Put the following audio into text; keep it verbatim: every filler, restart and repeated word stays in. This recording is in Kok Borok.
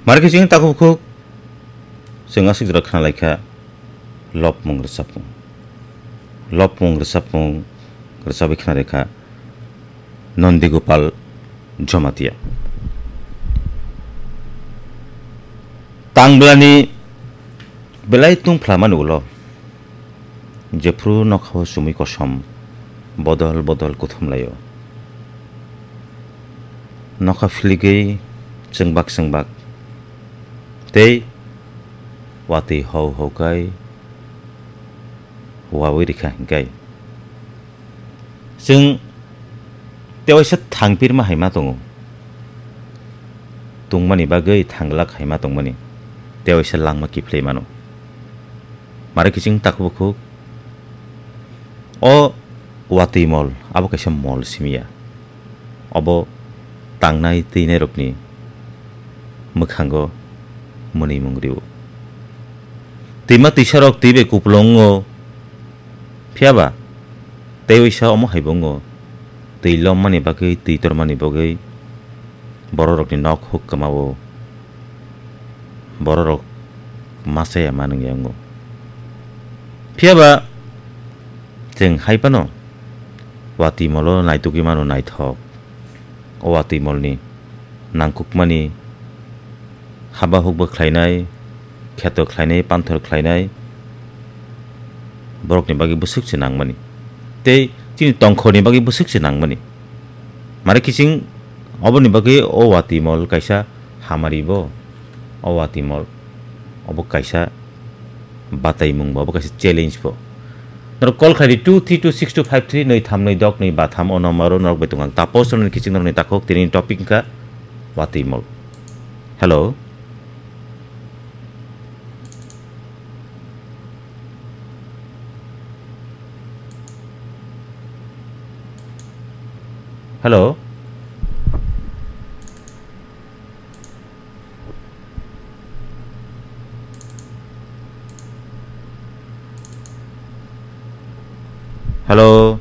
Mare khe chini takhuk bukhuk chwng aswk jora khna lai kha lopmung rwchapmung. Lopmung rwchapmung rwchabwi khna rwkha Nondi Gopal Jamatia. Tangblani belai tungphlamani ulo jephru nokhao chumui kosom bodol bodol kuthumlaio. Nokha philigwi chwngbak chwngbak tei watwi hau hau kai wawi rikha hinkai. Chwng tewaisa thangpirma hai ma tongo. Tungmani bagwi thanglak hai ma tongmani tewaisa langma kiphilwi mano. Mare kiching takhuk bukhuk o watwi mol abo kaisa mol simiya. Obo tangnai twinairokni mwkhango mwnwimung rio. Twima twisarok twi bai kupulung wngo, phiya ba tei waisa omo hai bo wngo, twi lommani bagwi, twi tormani bagwi bororokni nok huk kwmao bororok ma chaya ma nungya wngo. Phiya ba chwng hai phano watwi molo naitugwi mano naithok. O watwi molni nangkukmani haba hukba khlainai, kheto khlainai, panthor khlainai, borokni bagwi bwswk se nangmani. Tei chini tongkhorni bagwi bwswk se nangmani. Mare kiching oboni bagwi o watwi mol kaisa hamari bo, o watwi mol obo kaisa bataimung bo, obo kaisa challenge bo. Norok call khlai di two three two six two five three, nwi tham nwi dok nwi ba tham, o number o norok bai tong ang. Tapos norokni kiching norokni takhuk tini topic wngkha watwi mol. Hello. Hello. Hello.